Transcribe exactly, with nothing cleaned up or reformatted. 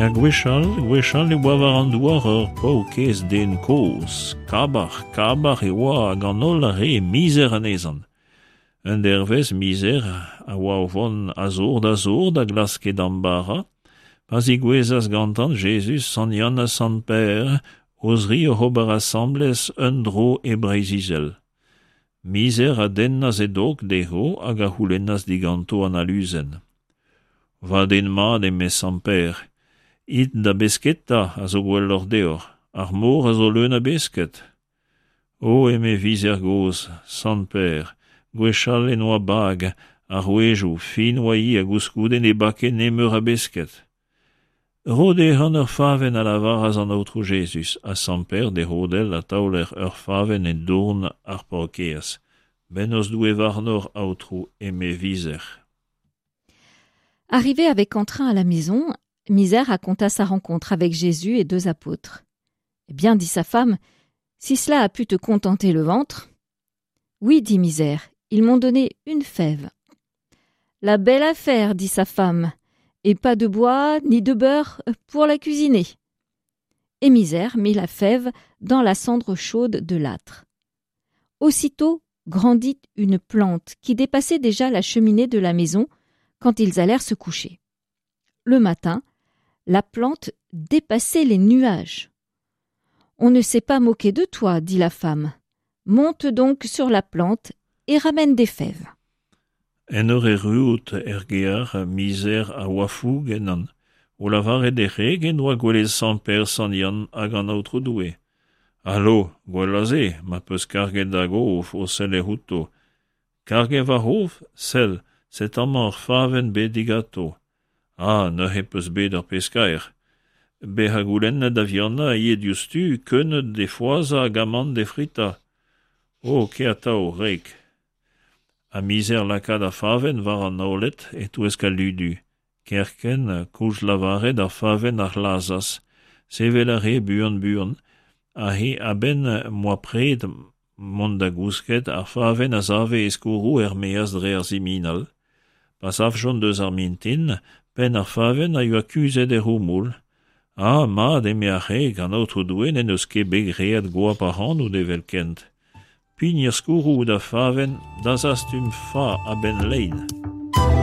Er gwechall, gwechall e oa war an douar ur paourkaezh den kozh, kabac'h, kabac'h e oa hag an holl a rae mizer anezhañ. Un dervezh mizer a oa o vont a zor da zor da glask e damm bara, pa zigouezas gantañ Jezuz, Sant Yann ha Sant Pêr, o zri oc'h ober asambles un dro e Breizh-Izel. Mizer a dennas e dog dezho hag a c'houlennas diganto an aluzen. Va den mat, eme Sant Pêr, it da besketa a zo gwelloc'h deoc'h, ar mor a zo leun a besked. O, eme Vizer gozh, Sant Pêr, gwechall en oa bag, ar rouedoù, fin oa-hi ha koulskoude ne bake nemeur a besked. Ro dezhañ ur favenn a lavaras an Aotrou Jezuz, ha Sant Pêr d'e c'hodell ha taoler ur favenn e dourn ar paourkaezh. Bennozh Doue warnoc'h, Aotrou, eme Vizer. Arrivé avec entrain à la maison, Misère raconta sa rencontre avec Jésus et deux apôtres. Eh bien, dit sa femme, si cela a pu te contenter le ventre. Oui, dit Misère, ils m'ont donné une fève. La belle affaire, dit sa femme, et pas de bois ni de beurre pour la cuisiner. Et Misère mit la fève dans la cendre chaude de l'âtre. Aussitôt grandit une plante qui dépassait déjà la cheminée de la maison quand ils allèrent se coucher. Le matin, la plante dépassait les nuages. On ne s'est pas moqué de toi, dit la femme. Monte donc sur la plante et ramène des fèves. En ur erruout er gear, Mizer a oa foug ennañ, o lavaret d'e wreg en doa gwelet Sant Pêr, Sant Yann hag an Aotrou Doue. Alo, gwell a se, ma peus karget da gof o sellet outo. Karget va c'hof, sell, set' amañ ur favenn bet diganto. Ah, neuze peus bet ur pezh kaer. Bezañ goulennet da vihanañ a ye diouzhtu keuneud d'he foazhañ hag amann d'he fritañ. O, kae atav, wreg. Ha Mizer lakaat ar favenn war an oaled e-touesk al ludu. Kerkent, koulz lavaret ar favenn a c'hlazas, sevel a rae buan-buan, ha he a-benn m'oa pred mont da gousket ar favenn a save e skourroù er-maez dre ar siminal. Pa savjont eus ar mintin, penn ar favenn a yoa kuzhet er c'houmoul. Ah, mat, eme ar c'hreg, an Aotrou Doue n'en deus ket bet graet goap ac'hanout evelkent. Pign er skourroù da favenn da zastum fa a-benn lein.